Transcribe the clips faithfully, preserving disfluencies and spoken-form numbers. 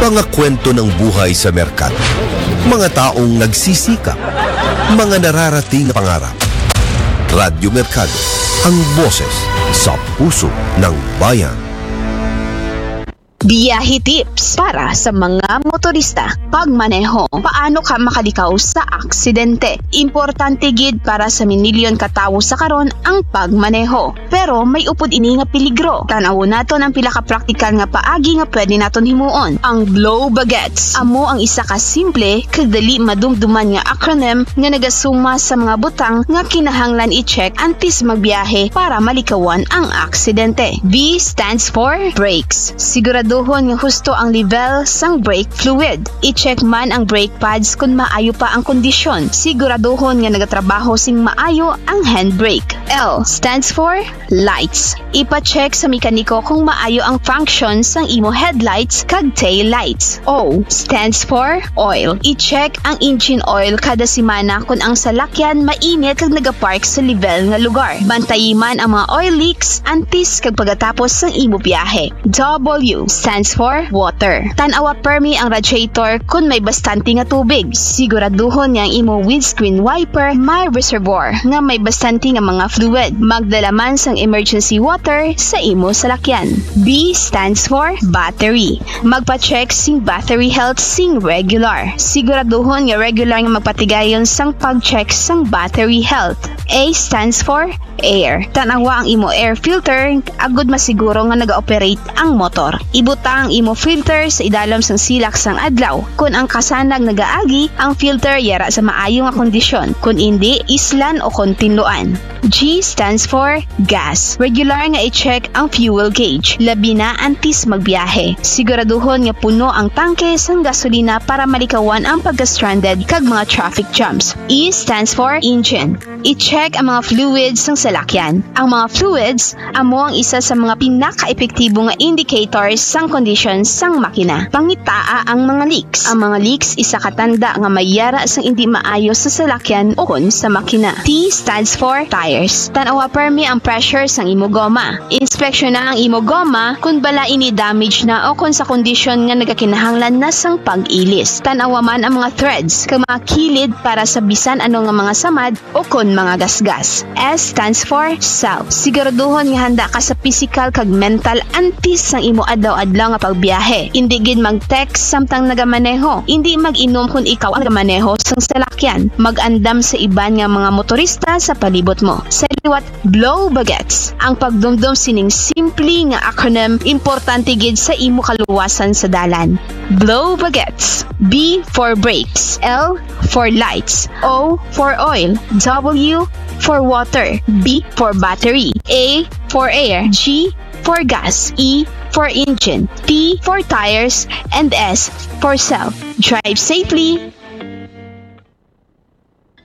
Mga kwento ng buhay sa merkado. Mga taong nagsisikap. Mga nararating na pangarap. Radyo Merkado, ang boses sa puso ng bayan. Biyahe tips para sa mga motorista. Pagmaneho. Paano ka makalikaw sa aksidente? Importante gid para sa minilyon ka tawo sa karon ang pagmaneho. Pero may upod ini nga peligro. Tan-awon naton ang pila ka praktikal nga paagi nga pwede naton himuon. Ang blow bagets amo ang isa ka simple kag dali madumduman nga acronym nga nagasuma sa mga butang nga kinahanglan i-check antes magbiyahe para malikawan ang aksidente. B stands for brakes. Siguraduhon nga husto ang level sang brake fluid. I-check man ang brake pads kon maayo pa ang kondisyon. Siguraduhon nga nagatrabaho sing maayo ang handbrake. L stands for lights. Ipa-check sa mekaniko kung maayo ang function sang imo headlights kag tail lights. O stands for oil. I-check ang engine oil kada semana kon ang salakyan mainit kag nagapark sa level nga lugar. Bantayi man ang mga oil leaks antes kag pagkatapos sang imo biyahe. W stands for water. Tan-awa permi ang radiator kon may bastante nga tubig. Siguraduhon nga ang imo windscreen wiper may reservoir nga may bastante nga mga fluid. Magdala man sang emergency water sa imo salakyan. B stands for battery. Magpa-check sing battery health sing regular. Siguraduhon nga regular nga magpatigayon sang pag-check sang battery health. A stands for air. Tan-awa ang imo air filter agud masiguro nga naga-operate ang motor. Ibutang ang imo filter sa idalom sang silak sang adlaw. Kon ang kasanag nagaagi, ang filter yara sa maayo nga kondisyon. Kon indi, islan o kon tinluan. G stands for gas. Regular nga i-check ang fuel gauge, labi na antes magbiyahe. Siguraduhon nga puno ang tangke sang gasolina para malikawan ang pagka-stranded kag mga traffic jams. E stands for engine. I-check ang mga fluids sang salakyan. Ang mga fluids amo ang isa sa mga pinakaepektibo nga indicators sang kondisyon sang makina. Pangitaa ang mga leaks. Ang mga leaks isa ka tanda nga may yara sang indi maayo sa salakyan o kon sa makina. T stands for tires. Tan-awa permi ang pressure sang imo goma. Inspeksyona ang imo goma kon bala ini damage na o kon sa kondisyon nga nagakinahanglan na sang pag-ilis. Tan-awa man ang mga threads kag mga kilid para sa bisan ano nga mga samad o kon mga gasgas. S stands for self. Siguraduhon nga handa ka sa pisikal kag mental antes sang imo adlaw-adlaw nga pagbiyahe. Indi gid mag-text samtang nagamaneho. Indi mag-inom kon ikaw ang nagamaneho sang salakyan. Mag-andam sa iban nga mga motorista sa palibot mo. Sa liwat, blow bagets. Ang pagdumdom sining simple nga acronym importante gid sa imo kaluwasan sa dalan. Blow bagets. B for brakes. L for lights. O for oil. W for water. B for battery. A for air. G for gas. E for engine. T for tires. And S for self. Drive safely.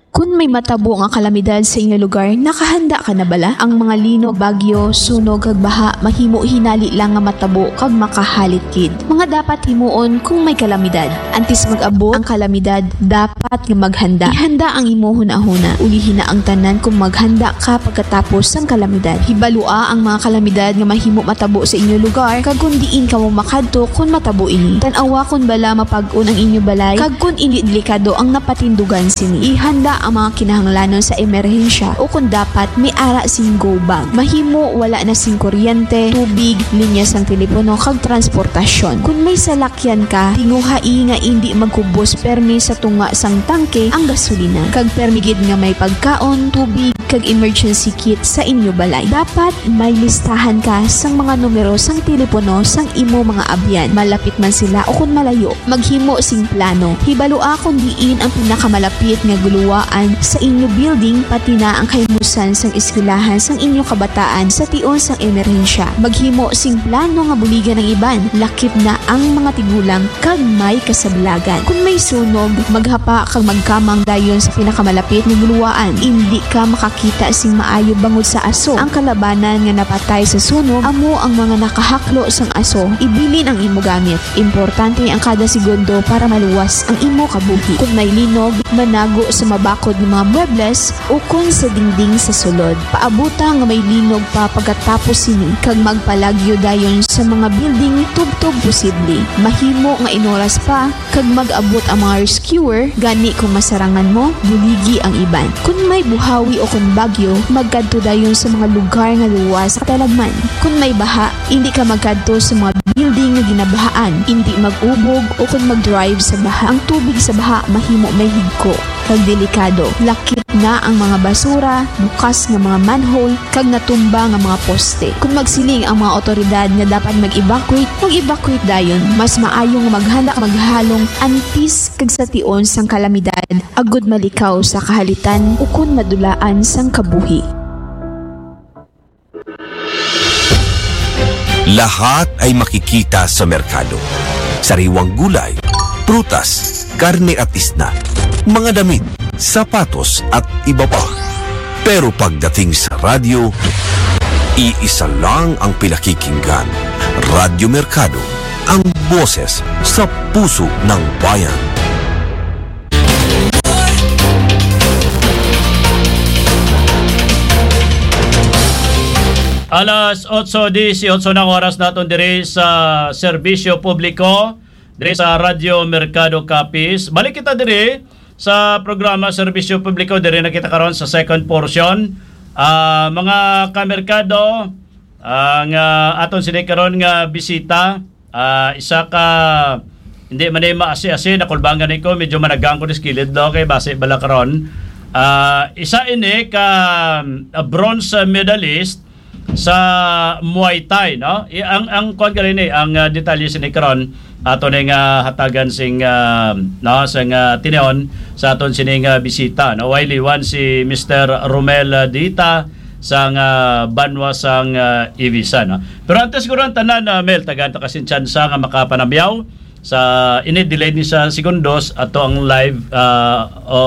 Kun may matabo nga kalamidad sa inyo lugar, nakahanda ka na bala? Ang mga linog, bagyo, sunog, kag baha mahimo hinali lang nga matabo kag makahalit gid. Mga dapat himuon kung may kalamidad. Antes mag-abot ang kalamidad, dapat nga maghanda. Ihanda ang imo hunahuna. Ulihi na ang tanan kung maghanda ka pagkatapos sang kalamidad. Hibalua ang mga kalamidad nga mahimo matabo sa inyo lugar, kag kon diin kamo makadto kon matabo ini. Tan-awa kon bala mapag-on ang inyo balay, kag kon indi delikado ang napatindugan sini. Ihanda ang mga kinahanglanon sa emerhensya, o kon dapat may ara sing go bag. Mahimo wala na sing kuryente, tubig, linya sang telepono, kag transportasyon. Kon may salakyan ka, tinguhai nga indi magkubos permi sa tunga sang tangke ang gasolina, kag permi gid nga may pagkaon, tubig, kag emergency kit sa inyo balay. Dapat may listahan ka sang mga numero sang telepono sang imo mga abyan, malapit man sila o kon malayo. Maghimo sing plano. Hibalua kon diin ang pinakamalapit nga guluwaan sa inyo building, pati na ang kahimusan sang eskwelahan sang inyo kabataan sa tion sang emerhensya. Maghimo sing plano nga buligan ang iban, lakip na ang mga tigulang kag may kasablagan. Kon may sunog, maghapa kag magkamang dayon sa pinakamalapit nga guluwaan. Indi ka maka makakita sing maayo bangod sa aso. Ang kalabanan nga napatay sa sunog amo ang mga nakahaklo sang aso. Ibilin ang imo gamit. Importante ang kada segundo para maluwas ang imo kabuhi. Kung may linog, manago sa mabakod nga mga muebles ukon sa dingding sa sulod. Paabuta nga may linog pa pagkatapos sini, kag magpalagyo dayon sa mga building tubtob posible. Mahimo nga inoras pa kag mag-abot ang mga rescuer, gani kung masarangan mo, buligi ang iban. Kung may buhawi o kung bagyo, magkadto dayon sa mga lugar nga luwas sa katalagman. Kung may baha, indi ka magkadto sa mga building nga ginabahaan. Indi mag-ubog o kung mag-drive sa baha. Ang tubig sa baha mahimo may higko kag delikado. Lakip na ang mga basura, bukas nga mga manhole, kag natumba nga mga poste. Kung magsiling ang mga awtoridad nga dapat mag-evacuate, mag-evacuate dayon. Mas maayo nga maghanda maghalong antes kag sa tion sang kalamidad, agud malikaw sa kahalitan ukon madulaan sang kabuhi. Lahat ay makikita sa merkado. Sariwang gulay, prutas, karne at isda, mga damit, sapatos at iba pa. Pero pagdating sa radyo, iisa lang ang pinakikinggan. Radyo Merkado, ang boses sa puso ng bayan. Alas otso dieciocho na ang oras naton diri sa serbisyo publiko, diri sa Radyo Merkado Capiz. Balik kita diri sa programa Serbisyo Publiko. Diri na kita karon sa second portion. Ah, mga kamerkado, ang ah, aton sini karon nga bisita, ah, isa ka, hindi man ni maasi-asi, nakulbangan ni ko, medyo managang ko ni kilid, no? Kay basi bala karon. Ah, isa ini ka ah, bronze medalist sa Muay Thai, no? I, ang ang kuan gali ni, ang ah, detalye sini karon ato ni nga hatagan sing ah, no, sa nga tinuod sa aton sini nga bisita, no? Way liwan si Mister Romel ah, Dita sang ah, banwa sang ah, Ibiza, no? Pero antes guro ang tanan, ah, Mel, tagaan ta ka sing tsansa nga makapanamyaw sa ini, delayed ni sa segundos ato ang live ah, o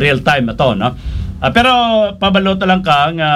real time ato, no? Ah, pero pabalo ta lang ka nga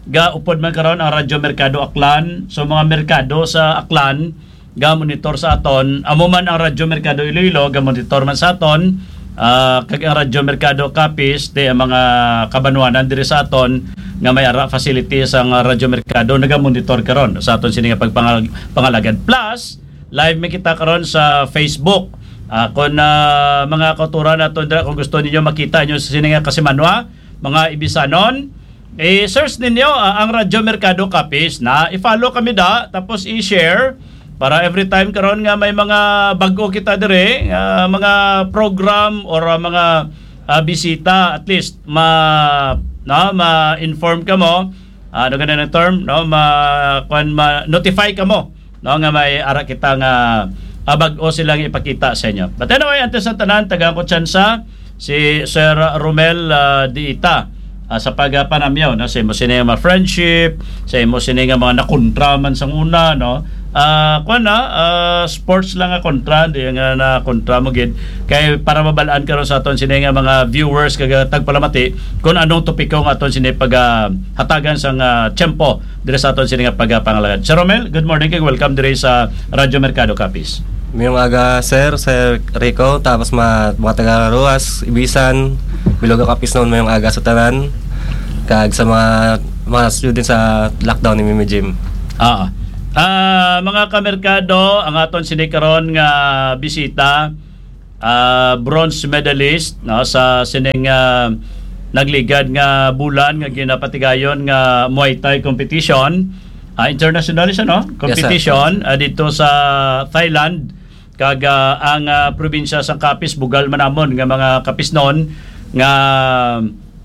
gaupod man karon ang Radyo Merkado Aklan. So, mga merkado sa Aklan ga-monitor sa aton. Amo man ang Radyo Merkado Iloilo ga-monitor man sa aton. Ah, kag ang Radyo Merkado Capiz, di ang mga kabanwanan diri sa aton nga may ara facilities ang Radyo Merkado naga-monitor karon sa aton sini nga pagpangag- pangalagad. Plus, live mi kita karon sa Facebook. Ah, kung ah, mga kauturan nato dira, kung gusto ninyo makita inyo sa sini nga kasimanwa, mga Ibisanon, i-search ninyo ah, ang Radyo Merkado Capiz na i-follow kami da, tapos i-share para every time karon nga may mga bag-o kita dire, nga mga program or ah, mga ah, bisita, at least ma no, ma-inform kamo, ah, ano ganun ang term, no, ma kuan, ma-notify kamo, no, nga may ara kita nga ah, bag-o silang ipakita sa inyo. But anyway, antes sa tanan, tagaan ko tsansa si Sir Romel ah, Diita ah, sa pagpanamyaw, no, sa imo sini nga mga friendship, sa imo sini nga mga nakontra man sang una, no. Ah, kuan na, ah, sports lang nga kontra, di nga na kontra mo gid, kay para mabalaan karon sa aton sini nga mga viewers kag ah, tagpalamati kung anong topiko nga aton sini pag ah, hatagan sang ah, tiyempo diri sa aton sini nga pagpangalagad. Sir Romel, good morning kag welcome diri sa Radyo Merkado Capiz. Mayong aga, sir, Sir Rico, tapos ma, mga taga Roxas, Ibisan, Bilog, Capiz noon, mayong aga sa tanan, kag sa mga mga students sa lockdown ni Mimi Gym. Ah, ah, mga kamerkado, ang aton sini karon nga bisita, ah, bronze medalist, no, sa sining ah, nagligad nga bulan nga ginapatigayon nga Muay Thai competition, ah, international siya, no? Competition ah, dito sa Thailand, kag ah, ang ah, probinsya sang Capiz, bugal man namon nga mga Capiznon, nga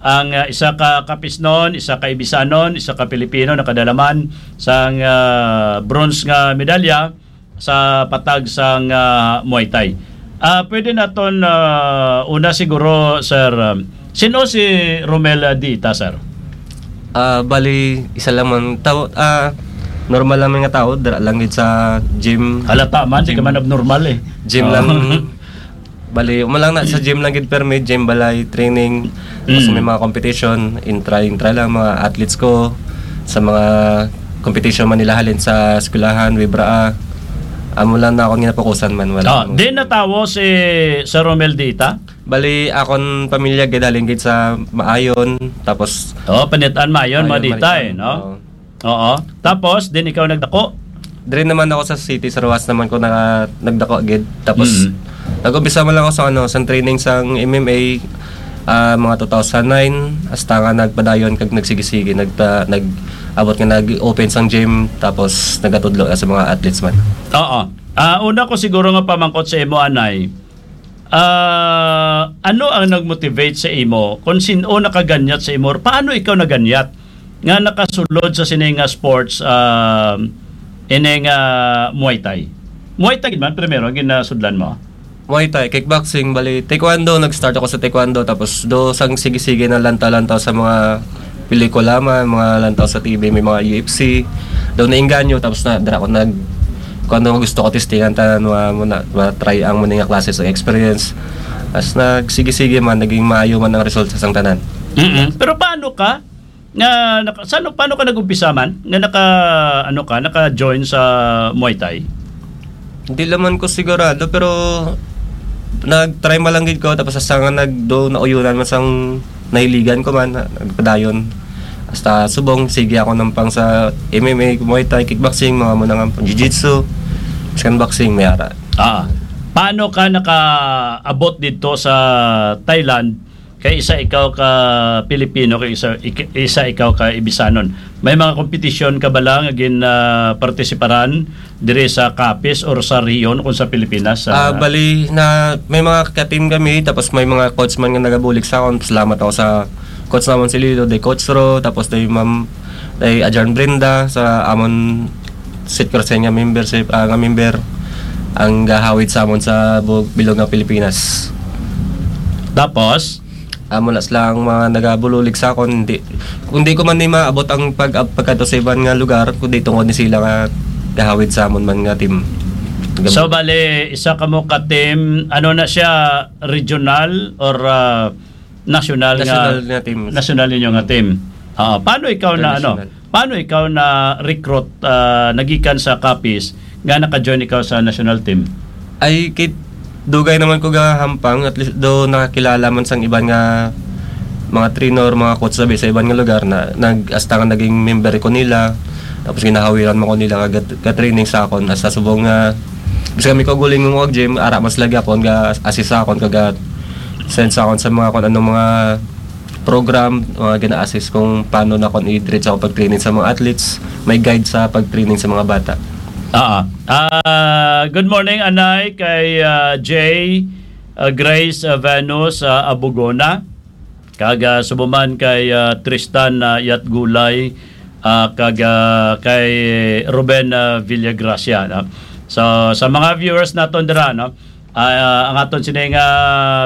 ang ah, isa ka Capiznon, isa ka Ibisanon, isa ka Pilipino nakadalaman sang ah, bronze nga medalya sa patag sang ah, Muay Thai. Ah, pwede naton ah, una siguro, sir, um, sino si Romel ah, Dita, sir? Ah, bali, isa lang man tao, ah, normal lang man nga tao, dira lang gid sa gym. Halata man, di ka man abnormal eh. Gym lang. Bali, amo lang na sa gym lang gid permi, gym, balay, training. Tapos Mm. may mga competition, intra, intra lang, mga athletes ko, sa mga competition man nila halin sa eskwelahan, Wibra, ah. Amo lang na akong ginapokusan man, wala Ah, akong di natawo si Sir Romel Dita? Bali, akon pamilya gid halin gid sa Maayon, tapos Oh, Panitan Maayon, Maayon, Maditay, Maritan, no? Oo. Oo. Tapos, din ikaw nagdako? Diri naman ako sa city, sa Roxas naman ko naka-, nagdako gid. Tapos, Mm. nag-umpisa man lang ako sa, ano, sa training sang M M A, ah, mga two thousand nine, hasta nga nagpadayon kag nagsige-sige, nagta-, nag-abot nga nag-open sang gym, tapos nagatudlo na sa mga athletes man. Oo. Ah, una ko siguro nga pamangkot sa imo, anay. Ah, ano ang nag-motivate sa imo? Kung sin-o nakaganyat sa imo, paano ikaw naganyat nga nakasulod sa sini nga sports, ah, ini nga Muay Thai? Muay Thai gid man primero ang ginasudlan mo? Muay Thai, kickboxing, bali, taekwondo, nag-start ako sa taekwondo, tapos do sang sige-sige na lantaw-lantaw sa mga pelikula man, mga lantaw sa T V, may mga U F C. Daw nainganyo, tapos na, dira ko nag-, kung ano gusto ko, testingan tanan, ma-, muna, ma-try ang muna nga klase sa experience. As nagsige-sige man, naging maayo man ang resulta sang tanan. Mm-mm. Pero paano ka? Nga, naka-, saan, paano ka nag-umpisa man? Nga naka, ano ka, naka-join sa Muay Thai? Hindi naman ko sigurado, pero nag-try man lang gid ko, tapos hasta nga nag-, do, nauyunan man sang nahiligan ko man, na-, nagpadayon. Hasta subong, sige ako nampang sa M M A, Muay Thai, kickboxing, mga muna nga, jiu-jitsu, biskan boxing, may ara. Ah, paano ka nakaabot dito sa Thailand? Kay isa ikaw ka Pilipino, kay isa, ik-, isa ikaw ka Ibisanon. May mga kompetisyon ka bala nga gin, ah, partisiparan diri sa Capiz or sa Rion kung sa Pilipinas, sa Ah, bali na may mga ka-team kami, tapos may mga coach man nga nagabulig sa akon. Salamat ako sa coach namon si Lilo, day Coach Ro, tapos day Ma'am, day Ajan Brenda, sa amon Sit Crescent nga membership, ah, nga member ang gahawid sa amon sa bu-, bilog nga Pilipinas. Tapos? Amo na sila ang mga nagabulig sa akon. Hindi, kung di ko man ni maabot ang pag-, pagkadto sa iban nga lugar, kundi tungod ni sila nga gahawid sa amon man nga team. So, bali, isa ka mo ka team, ano na siya, regional or, ah, national nga National nga team. National ninyo nga team? Ah, paano ikaw na, ano, International. Paano ikaw na recruit, ah, nagikan sa Capiz nga naka-join ikaw sa national team? Ay, kit-, dugay naman ko gahampang, at least do nakakilala man sang iban nga mga trainer, mga coach sabi sa iban nga lugar na nag-, hasta nga naging member ko nila. Tapos ginahawiran mo ko nila ka, ka-training sa akon. Hasta subong nga, bisan kami ko guling mo gym, ara mas lagi akon ga-assist sa akon, kaga send sa akon sa mga kung anong mga program, mga gina-assist kung paano na kung i-diretso ako pag-training sa mga athletes, may guide sa pag-training sa mga bata. Ah, ah, good morning, Anay, kay, ah, Jay, ah, Grace, ah, Venus, ah, Abugona, kag, ah, subuman kay, ah, Tristan, ah, Yatgulay, ah, kag, ah, kay Ruben, ah, Villagracia, no? So, sa mga viewers naton dira, no? Ah, ang aton sini nga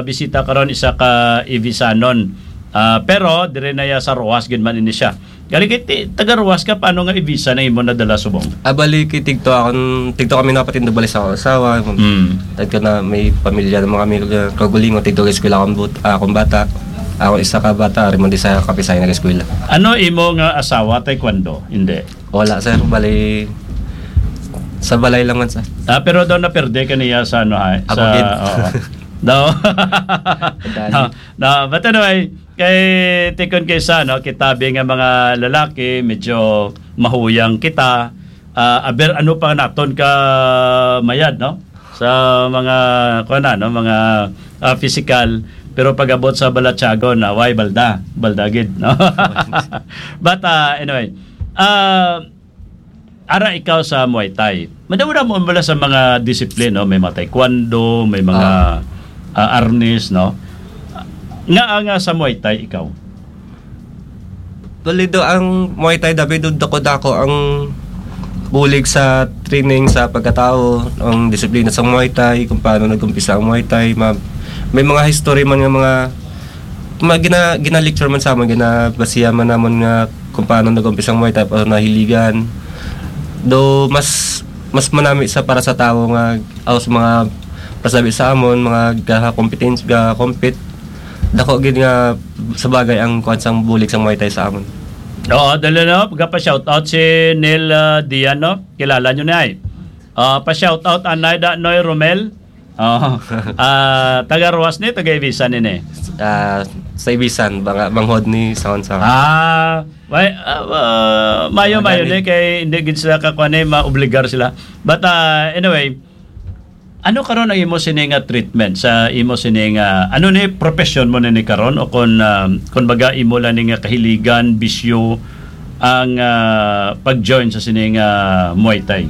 bisita karon isa ka Ibisanon. Ah, pero dire na iya sa Roxas gid man ini siya. Gani kay ti-, taga Roxas ka, paano nga Ibisan ang imo nadala subong? Ah, bali kay tigto akon, tigto kami napatindog bali sa akong asawa. Mm. Tagto na may pamilya naman kami, kag-, kagulingon, tigto kay eskwela akong but-, ah, akong bata. Ako isa ka bata, ari man di sa Kapisay nag-eskwela. Ano imo nga asawa, taekwondo? Hindi. Wala, sir. Bali, sa balay lang man, sir. Ah, pero daw naperde ka niya sa ano, ha? Ako Sa, gid. Oo. Daw. Kadali. No, no, but anyway, kay tikon kay sa, no, kita bi nga mga lalaki, medyo mahuyang kita. Ah, aber ano pa naton ka mayad, no? Sa mga, kuwan na, no, mga, ah, physical, pero pag-abot sa balatyagon, na, way, balda, balda gid, no? But, ah, anyway, ah, ara ikaw sa Muay Thai. Madamo na mo wala sa mga disiplina, no? May mga taekwondo, may mga, Ah. ah, arnis, no? Nga, nga sa Muay Thai ikaw? Bali do ang Muay Thai, dabi do dako-dako ang bulig sa training sa pagkatao, ang disiplina sa Muay Thai, kung paano nag-umpisa ang Muay Thai, ma-, may mga history man nga mga, mga gina-, gina-lecture man sa amon, ginabasihan man namon nga kung paano nag-umpisa ang Muay Thai, paano nahiligan. Do mas, mas manami sa para sa tao nga, o sa mga sabi sa amon, mga gaha-competence, ga-compete, dako gid nga sa bagay ang kuwan sang bulig sang Muay Thai sa amon. Oo, dali na, pagka-shoutout si Neil, ah, Dian, no? Kilala nyo na, eh. Ah, pa-shoutout, anay da, Noy Romel. Oo. Ah, taga Roxas ni, taga Ibisan ni, eh. Ah, sa Ibisan, banga-, banghod ni Sawan-Sawan. Ah, may, ah, ah, mayo, mayo ni, kay hindi gid sila kakuan, eh, maobligar sila. But, ah, anyway, ano karon ang imo sini nga treatment sa imo sini nga, ano ni profession mo na ni karon, o kon, ah, kon baga imo lang ni nga kahiligan, bisyo ang, ah, pag-join sa sini nga Muay Thai?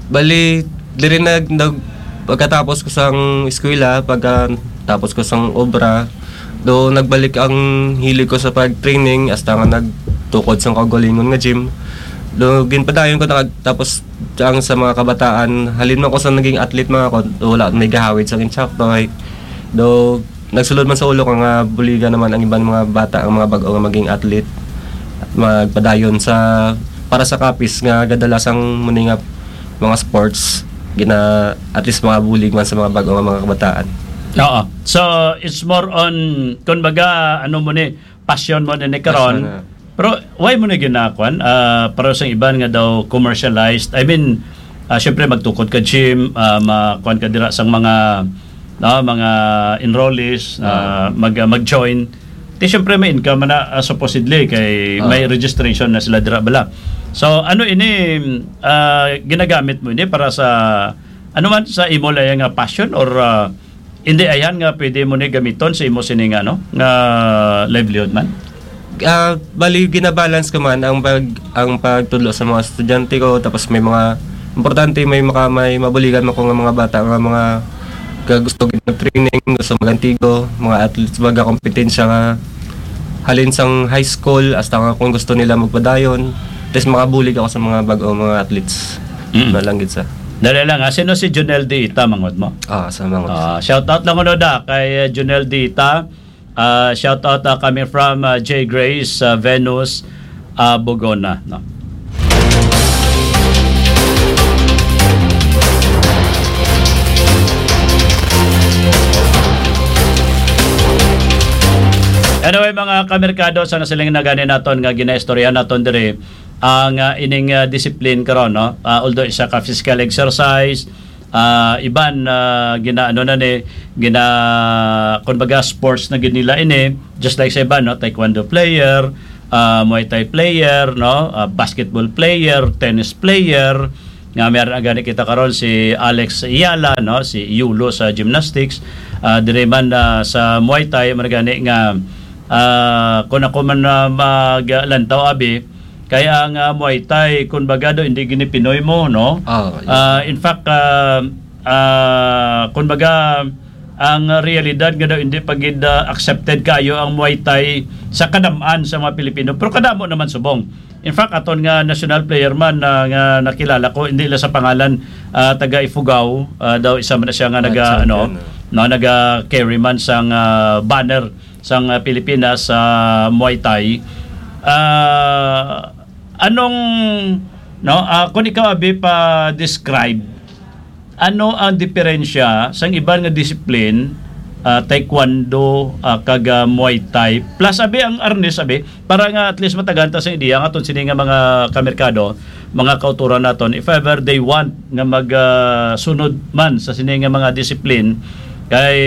Bali, diri nag-, nag-, pagkatapos ko sang eskwela, pagkatapos ko sang obra, do nagbalik ang hilig ko sa pag-training, hasta nga nagtukod sang kaugalingon nga gym. Do ginpadayon ko na, tapos ang sa mga kabataan, halin man ko sa naging athlete mga ko, wala may gahawid sa insakto, ay, do nagsulod man sa ulo ko nga buligan naman ang iban mga bata, ang mga bag-o nga maging athlete, magpadayon sa, para sa kapis nga gadalasang muni nga mga sports, gina, at least mga bulig man sa mga bag-o nga mga kabataan. Oo. So, it's more on, kun baga, ano mo ni, passion mo ni, ni karon. Passion na. Pero why mo na ginakuan? Ah, para sa iban nga daw commercialized. I mean, ah, syempre magtukod ka gym, ah, makuan ka dira sang mga, no, mga enrollees, ah, Ah. mag, ah, mag-join. Ti syempre may income na, ah, supposedly kay Ah. may registration na sila dira bala. So ano ini, ah, ginagamit mo ini para sa ano man, sa imo lang nga passion, or, ah, hindi ayan nga pwede mo ni gamiton sa imo sini nga, ano, nga livelihood man? Ah, bali, ginabalance ko man ang pag-, ang pagtudlo sa mga estudyante ko, tapos may mga importante, may maka-, may mabuligan man ko nga mga bata nga mga ka-, gusto gid mag-training, gusto mag-antigo, mga athletes, baga kompetensya nga halin sang high school, hasta nga kung gusto nila magpadayon, tapos makabulig ako sa mga bag-o mga athletes. Mm. Na lang gid sa. Dali lang, ah, sino si Junel Dita, manghod mo? Ah, sa mga Ah, shout out lang kuno da kay, uh, Junel Dita. Ah, shout out, ah, coming from, ah, J Grace, ah, Venus, ah, Bogona, no? Anyway, mga kamerkado, sa nasiling na gani naton nga ginaistorya naton diri, ang, ah, ining, ah, discipline karon, no? Ah, although isa ka physical exercise, ah, iban, ah, ginaano na ni, gina-, kumbaga, sports na gid nila ini, just like sa iban, no? Taekwondo player, ah, Muay Thai player, no? Ah, basketball player, tennis player, nga meron na gani kita karon si Alex Ayala, no? Si Yulo sa gymnastics, ah, diri man, ah, sa Muay Thai, man gani nga, ah, kung ako man, ah, maglantaw, abi, kay ang, ah, Muay Thai, kun baga daw, hindi gini Pinoy mo, no? Ah, yes. Ah, in fact, ah, ah, kun baga, ang realidad nga daw, hindi pa gid, ah, accepted kayo ang Muay Thai sa kadam-an sa mga Pilipino. Pero kadamo naman subong. In fact, aton nga national player man, ah, nga nakilala ko, hindi lang sa pangalan, ah, taga Ifugao, ah, daw isa man na siya nga Ah, naga, ano, champion, ah. no, naga-carry man sang, ah, banner sang, ah, Pilipinas sa Muay Thai. Ah, anong, no, ah, kung ikaw, abi, pa-describe, ano ang diferensya sang iban nga discipline, ah, taekwondo, ah, kag, ah, Muay Thai? Plus, abi, ang arnis, abi, para nga at least matagan ta sa ideya nga aton sini nga mga kamerkado, mga kauturan naton, if ever they want nga mag, ah, sunod man sa sini nga mga discipline, kay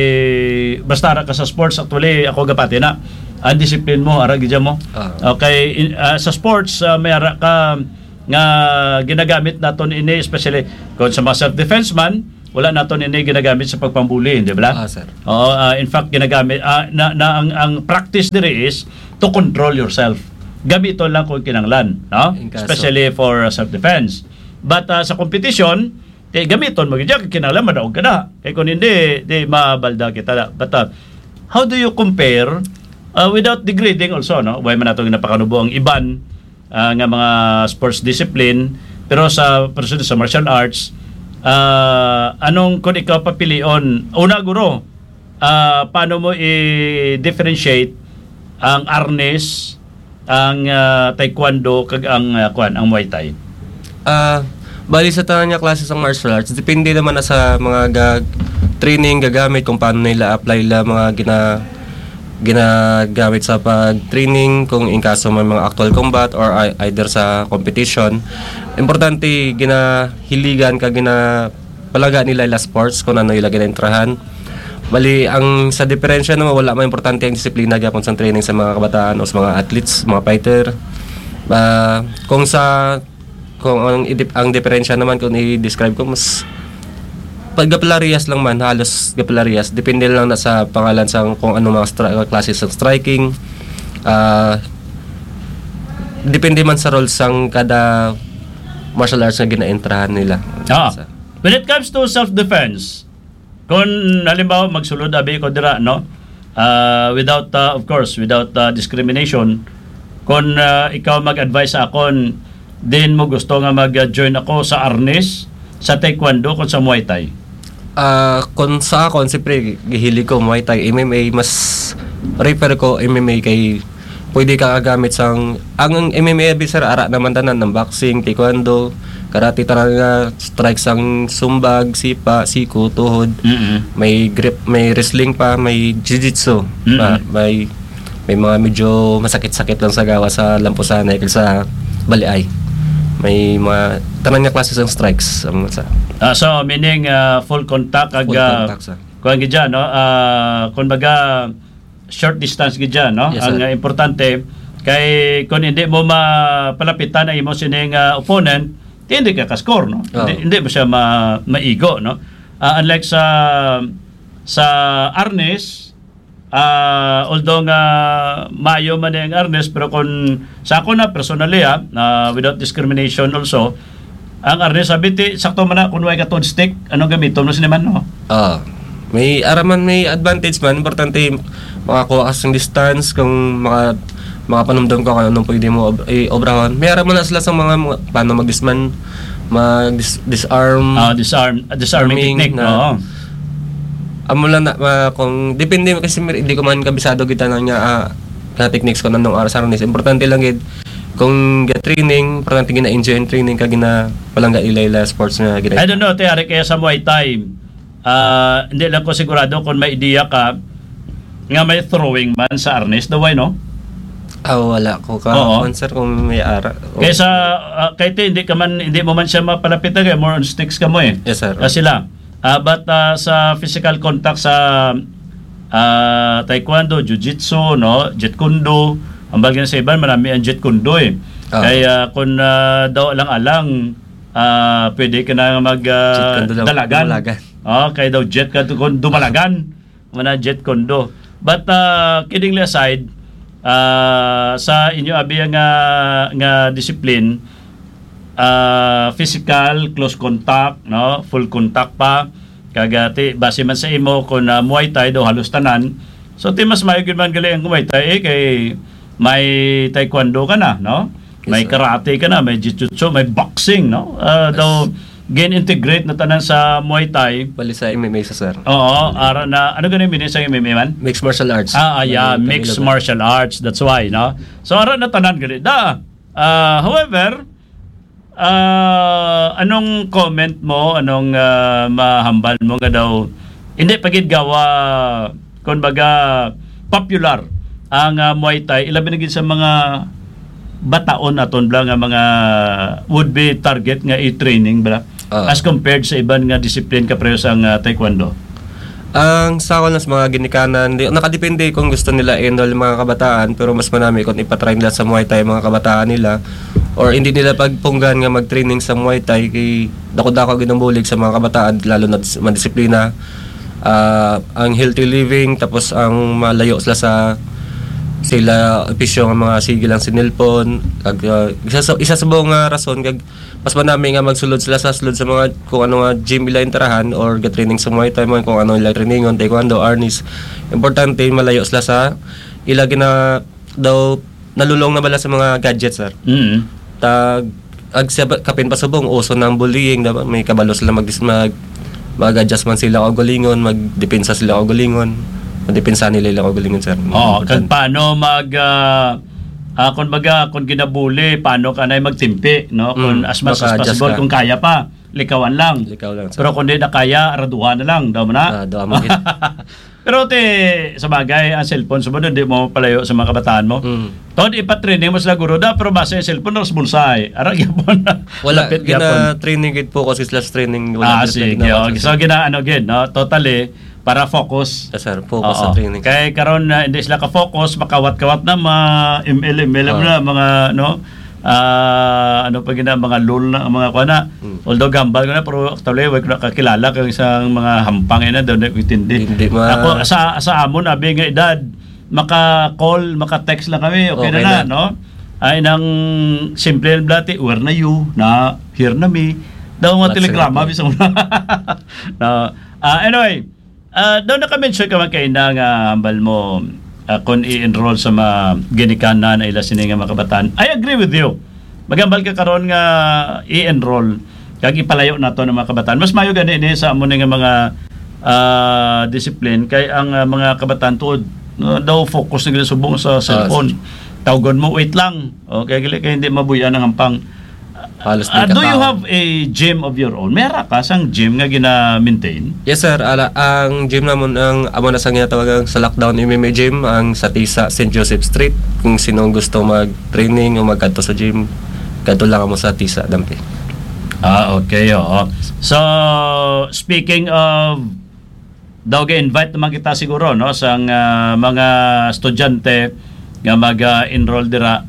basta ara ka sa sports, actually, ako gapati na, ang discipline mo, ara gid mo. Ah. Okay, in, ah, sa sports, ah, may ara ka nga ginagamit naton ini, especially kung sa mga self-defense man, wala naton ini ginagamit sa pagpambuli, di ba? Ah, sir. Oo, ah, in fact, ginagamit, ah, na, na ang, ang practice diri is to control yourself. Gamiton lang kung kinahanglan, no? In kaso. Especially for, uh, self-defense. But, uh, sa competition, kay gamiton mo gid, kinahanglan madaog ka na. Kay kung hindi, di mabalda kita na. But, uh, how do you compare, uh, without degrading also, no? Why man nato ginapakanubo ang iban, uh, nga mga sports discipline, pero sa, pero sa martial arts, uh, anong kung ikaw papilion? Una, guro, ah, paano mo i-differentiate ang arnis, ang, ah, taekwondo, kag ang, ah, kwan, ang Muay Thai? Ah, bali sa tanan nga klase sang martial arts, depende naman na sa mga ga-, training gagamit, kung paano nila apply la mga gina-, ginagamit sa pag-training, kung in kaso may mga actual combat or ei-, either sa competition. Importante, ginahiligan ka, ginapalaga nila ila sports kung ano ila ginaintrahan. Bali, ang sa diferensya naman, wala man importante ang disiplina gyapon sa training sa mga kabataan o sa mga athletes, mga fighter. Ah, kung sa, kung ang idip-, ang diferensya naman kung i-describe ko, mas paggapalariyas lang man, halos gapalariyas. Depende lang na sa pangalan sa kung ano mga stra-, klase sa striking. Ah, depende man sa roles sang kada martial arts nga ginaentrahan nila. Ah. Sa When it comes to self-defense, kung halimbawa magsulod abi ko dira, no? Ah, without, ah, of course, without, ah, discrimination, kung, ah, ikaw mag-advise sa akon, din mo gusto nga mag-join ako sa arnis, sa taekwondo, kung sa Muay Thai? Ah, kung sa akon, siyempre, gihili ko Muay Thai, M M A, mas prefer ko M M A kay pwede ka gamit sang, ang, ang M M A abi, sir, ara naman tanan, ang boxing, taekwondo, karate, tanan nga strike sang sumbag, sipa, siko, tuhod. Mm-mm. May grip, may wrestling pa, may jiu-jitsu. Mm-mm. Pa, may, may mga medyo masakit-sakit lang sa gawa sa lampusanay kag sa baliay. May mga tanan nga klase sang strikes ang sa Ah, so, meaning, ah, full contact ag, Full ah, contact, sir. Kuwan gid dyan, no? Ah, kung baga, short distance gid dyan, no? Yes, Ang, sir. ah, importante, kay kung hindi mo mapalapitan ang imo sining, ah, opponent, di, hindi ka ka-score, no? Oo. Hindi, hindi mo siya ma-, maigo, no? Ah, unlike sa, sa arnis, ah, although nga maayo man ang arnis, pero kung sa ako na, personally, ah, ah, without discrimination also, ang arnis, sabi ti, sakto man na kung way ka stick, ano gamiton mo sini man, no? Ah, may ara man, may advantage man. Importante, makakuha ka sang distance, kung maka-, makapanumdom ka kung anong pwede mo ob-, i-obrahon. May ara man na sila sa mga, mga paano mag-disman-, mag-dis-, disarm. Ah, disarm, ah, disarming Arming technique, na oo. Amo lang na, ah, kung depende kasi, mir-, hindi ko man kabisado kita na nga, ah, ka techniques ko nanong oras aron is importante lang gid kung ga-training, importante gina-enjoy ang training kag ginapalangga ila ila sports nga gina- I don't know, te, ari kaya sa Muay Thai, ah, hindi lang ko sigurado kung may ideya ka nga may throwing man sa arnis, daw, ay, no? Ah, wala ko ka Oo. Kuwan, sir, kung may ara. Kaysa, ah, kay te, hindi ka man, hindi mo man siya mapalapitan, kay more on sticks ka mo, eh. Yes, sir. Ah, sila. Ah, but, ah, sa physical contact sa, ah, taekwondo, jiu-jitsu, no, jeet kune do, ang bagay na sa iban, marami ang jeet kune do, eh. Ah. Kay, ah, kung, ah, daw alang-alang, ah, pwede ka na mag, ah, Jeet kune do lang, dalagan. Dumalagan. Oh, kay daw jet ka to kung dumalagan, mana jeet kune do. But, ah, kiddingly aside, ah, sa inyo abi nga, nga discipline, ah, physical, close contact, no? Full contact pa. Kag, ah, ti, base man sa imo, kung, ah, Muay Thai daw halos tanan. So, ti, mas maayo gid man gali ang Muay Thai, eh, kay may taekwondo ka na, no? Yes, May sir. karate ka na, may jiu-jitsu, may boxing, no? Ah, Yes. daw, gin-integrate na tanan sa Muay Thai. Bali sa M M A sa, sir. Oo, ara na, ano gani meaning sa M M A man? Mixed martial arts. Ah, ah, yeah, Ano, mixed Tagalog. martial arts. That's why, no? So, ara na tanan gali. Da, ah, however, ah, anong comment mo, anong, ah, mahambal mo nga daw, hindi pa gid gawa, kung baga, popular ang, ah, Muay Thai, ilabi na gid sa mga bataon aton bala nga mga would be target nga i-training bala, Ah. as compared sa iban nga discipline kapareho sang, ah, taekwondo? Ang sa akon lang sa mga ginikanan, di, nakadepende kung gusto nila i-enroll yung mga kabataan, pero mas manami kung ipatry nila sa Muay Thai ang mga kabataan nila, or hindi nila pagpunggan nga mag-training sa Muay Thai, kay dako-dako gid ang bulig sa mga kabataan, lalo na dis-, madisiplina, ah, ang healthy living, tapos ang malayo sila sa, sila, bisyo nga mga sige lang sa cellphone, kag, ah, isa sa, isa sa buong nga rason, kag mas manami nga magsulod sila sa sulod sa mga kung ano nga gym ila interahan or ga-training sa Muay Thai, man kung ano ila trainingon, taekwondo, arnis. Importante, malayo sila sa ila gina-, daw nalulong na bala sa mga gadgets, sir. Mm. Tag, ag, siya ba, kapin pa subong, uso na ang bullying, diba? May kabalo sila mag-, mag, mag-adjust man sila kaugalingon, magdepensa sila kaugalingon. Madepensa nila ilang kaugalingon, sir. Oo, Importante. kag paano mag, ah, ah, kung baga, kung ginabuli, paano ka na magtimpi, no? Kung Mm, as much as maka-adjust possible, ka. kung kaya pa. likawan lang. Likaw lang, sir. Pero kung di na kaya, raduhan na lang, daw mo na. Ah, daw mo gid. Pero te, sa bagay, ang cellphone, sa di mo palayo sa mga kabataan mo. Mm. Tod, ipatraining mo sila, guro, da, pero basta yung cellphone, nasa bulsa, eh. Ara, gyapon na. Wala, lapit gyapon. Gina-training gid po kasi sila sa training. Wala, ah, gina-training sige, na okay. So, gina-, ano, gid, no? Totally, para focus. Yes, sir. Focus sa Oo. Training. Kay karon na hindi sila ka-focus, makawat-kawat na, ma-M L, M L M Oo. Na, mga, no? Ah, ano pa gina, mga lol na, mga kuha na. Hmm. Although gambal ko na, pero actually, wala ko nakakilala kang isang mga hampang na doon, na intindi. Hindi ma- Ako, sa, sa amon, abi nga edad, maka-call, maka-text lang kami, okay Okay na na, na. No? Ay, nang simple ang blati, "Where na you?" Na, "Here na me." Daw nga What's telegrama, up? Bisang na. Ah, anyway, ah, daw naka-mention ka man kaina nga hambal mo, ah, kung i-enroll sa mga ginikanan ay ila sini nga mga kabataan. I agree with you. Magambal ka karon nga i-enroll kag ipalayo nato ang mga kabataan. Mas mayo gani ni sa amo ni nga mga, ah, discipline kay ang, ah, mga kabataan tuod, ah, daw focus na gid subong sa Ah, cellphone. Tawgon mo, "Wait lang." Okay, gali kay hindi mabuya ang hampang. Halos Ah, di ka do you tao. Have a gym of your own? May ara ka sang gym nga gina-maintain? Yes, sir. Ala, ang gym namon, ang amo na sa ginatawag ang sa Lockdown M M A Gym, ang sa Tisa, Saint Joseph Street. Kung sino ang gusto mag-training o magkadto sa gym, kadto lang mo sa Tisa, Dampi. Ah, okay, oo. So, speaking of, daw ga-invite naman kita siguro, no, sang, ah, mga estudyante nga mag-, ah, enroll dira.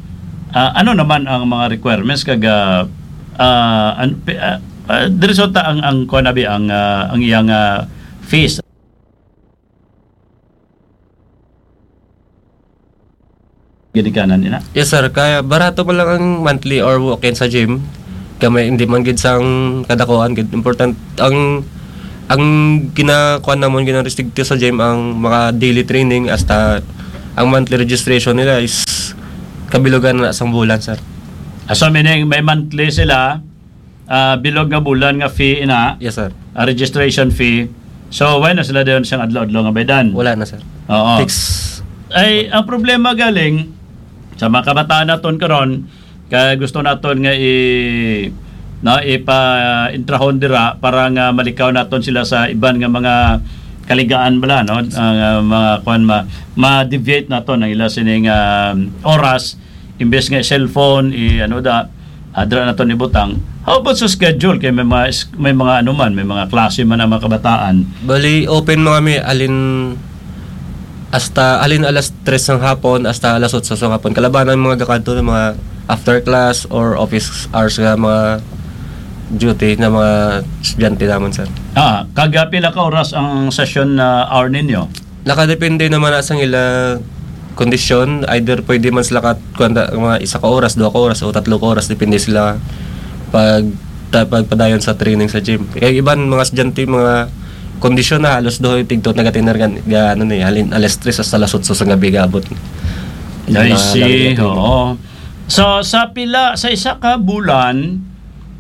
Ah, ano naman ang mga requirements kag, ah, ah, an-, pi-, ah, ah, diri sa ta ang, ang kuwan, abi, ang, ah, ang iyang, ah, fees? Ginikanan nila? Yes, sir. Kaya barato pa lang ang monthly or walk-in sa gym. Kaya may, hindi man gid sang kadakuan gid. Important, ang, ang ginakuan namon, ginarestrikto sa gym, ang mga daily training, hasta ang monthly registration nila is kabilugan na sang bulan, sir. Ah, so meaning, may monthly sila, ah, bilog nga bulan nga fee ina, Yes, sir. Ah, registration fee. So, wala na sila dayon sang adlaw-adlaw nga baydan? Wala na, sir. Oo. Fix. Ay, ang problema galing sa mga kabataan naton karon, kay gusto naton nga i-, no, ipa-intrahon dira para nga malikaw naton sila sa iban nga mga kaligaan bala, no? Ang, ah, mga kuwan, ma-, ma-deviate naton ang ila sining, ah, oras, imbes nga cellphone, i-, ano da, adra na to ni butang. How about sa schedule? Kay may mga is-, may mga ano man, may mga klase man ang mga kabataan. Bali, open mo kami, alin, hasta, alin alas tres ng hapon, hasta alas otso sa hapon. Kalaban ang mga gakadto ng mga after class or office hours nga mga duty na mga estudyante naman, sir. Ah, kaga pila ka oras ang session na hour ninyo? Nakadepende naman na sa ila kondisyon. Either pwede man sila ka, kuwan ta, mga isa ka oras, dua ka oras, o tatlo ka oras, depende sila pag, ta-, pagpadayon sa training sa gym. Kaya iban mga estudyante, mga kondisyon na halos do tigto nagatinir gan-, ga-, ano ni, halin alas tres hasta alas otso sa gabi gaabot. Yung I mga see, gabi na training. Oo. So, sa pila, sa isa ka bulan,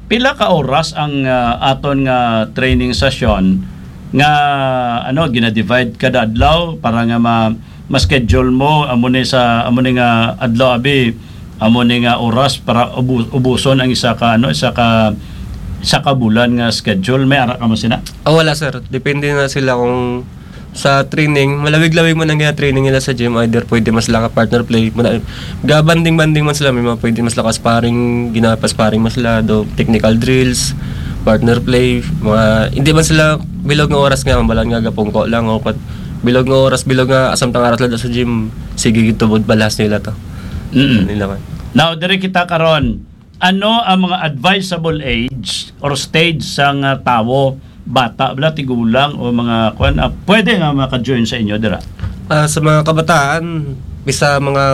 pila ka oras ang, ah, aton nga training session nga, ano, gina-divide kada adlaw para nga ma-, ma-schedule mo, amo ni sa, amo ni nga adlaw, abi, amo ni nga oras para ubu-, ubuson ang isa ka, ano, isa ka, isa ka bulan nga schedule? May ara ka mo sina? Ah, wala, sir. Depende na sila kung sa training, malawig-lawig man ang gina-training nila sa gym. Either pwede mas lang partner play. Muna, ga-banding-banding man sila. May mga pwede mas lang sparring, ginapa-sparring mas sila. Do technical drills, partner play. Mga, hindi man sila bilog nga oras nga, mabalan nga gapungko lang. O pat, bilog nga oras, bilog nga, asam tang arat lang sa gym. Sige, gitubod balas nila to. Mm-mm. Nila man. Now, diri kita karon. Ano ang mga advisable age or stage sang, ah, tawo, bata bala, tigulang, o mga kwan, ah, pwede nga maka-join sa inyo dira? Ah, sa mga kabataan, bisa mga